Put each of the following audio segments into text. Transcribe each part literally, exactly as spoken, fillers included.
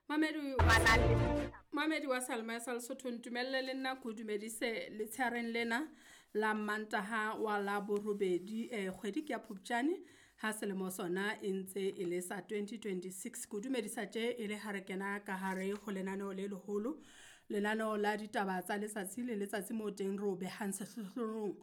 Mamedi Mamedi wa Salma sa Lesotho, ntumelle le nna ko dumedise letsheareng lena la Mantaha wa la borobedi, eh kgwedi ke ya Phupjane ha selemo sona e ntse e le sa twenty twenty-six. Ko dumedisa tje e le ha re kena ka hare ho lenaneo le leholo, lenaneo la ditaba tsa letsatsi le letsatsi moo teng ro behang sehlohlolong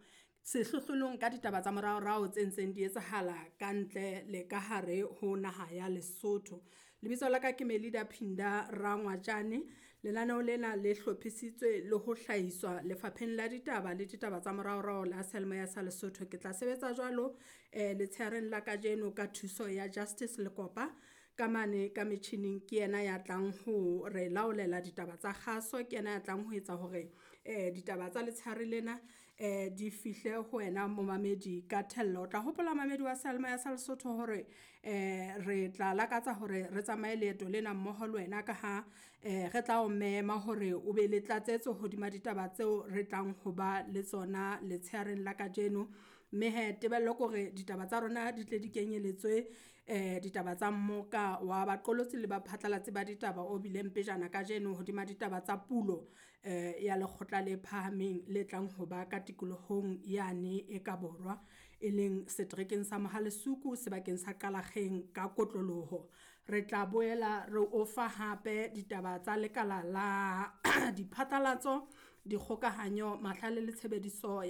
sehlohlolong ka ditaba tsa moraorao tse ntseng di etsahala ka ntle le ka hare ho naha ya Lesotho. Lebitso la ka ke Melida Phinda Rangwajane. Lenaneo lena le hlophisitswe le ho hlahiswa lefapheng la ditaba le ditaba tsa moraorao la Seyalemoya sa Lesotho. Ke tla sebetsa jwalo eh letsheareng la kajeno ka thuso ya Justice Lekopa ka mane ka metjhining ke yena ya tlang ho re laolela ditaba tsa kgaso, ke yena ya tlang ho etsa hore eh ditaba tsa letshehare lena eh di fihle ho wena momamedi ka thello. O tla hopola mamedi wa Seyalemoya sa Lesotho hore eh re tla lakatsa hore re tsamaye leeto lena mmoho le wena ka ha eh re tla o mema hore o be le tlatsetso hodima ditaba tseo re tlang ho ba le tsona letsheareng la kajeno. Mme he tebello kore ditaba tsa rona di tle di kenyeletswe eh ditaba tsa mmoka wa baqolotsi le baphatlalatsi ba ditaba o bileng pejana kajeno hodima ditaba tsa pulo eh ya lekgotla le phahameng le tlang ho ba ka tikolohong yane e ka borwa, e leng seterekeng sa Mohale'shoek sebakeng sa Qalakgeng ka kotloloho. Re tla boela re o fa hape ditaba tsa lekala la diphatlalatso, dikgokahanyo, mahlale le tshebediso.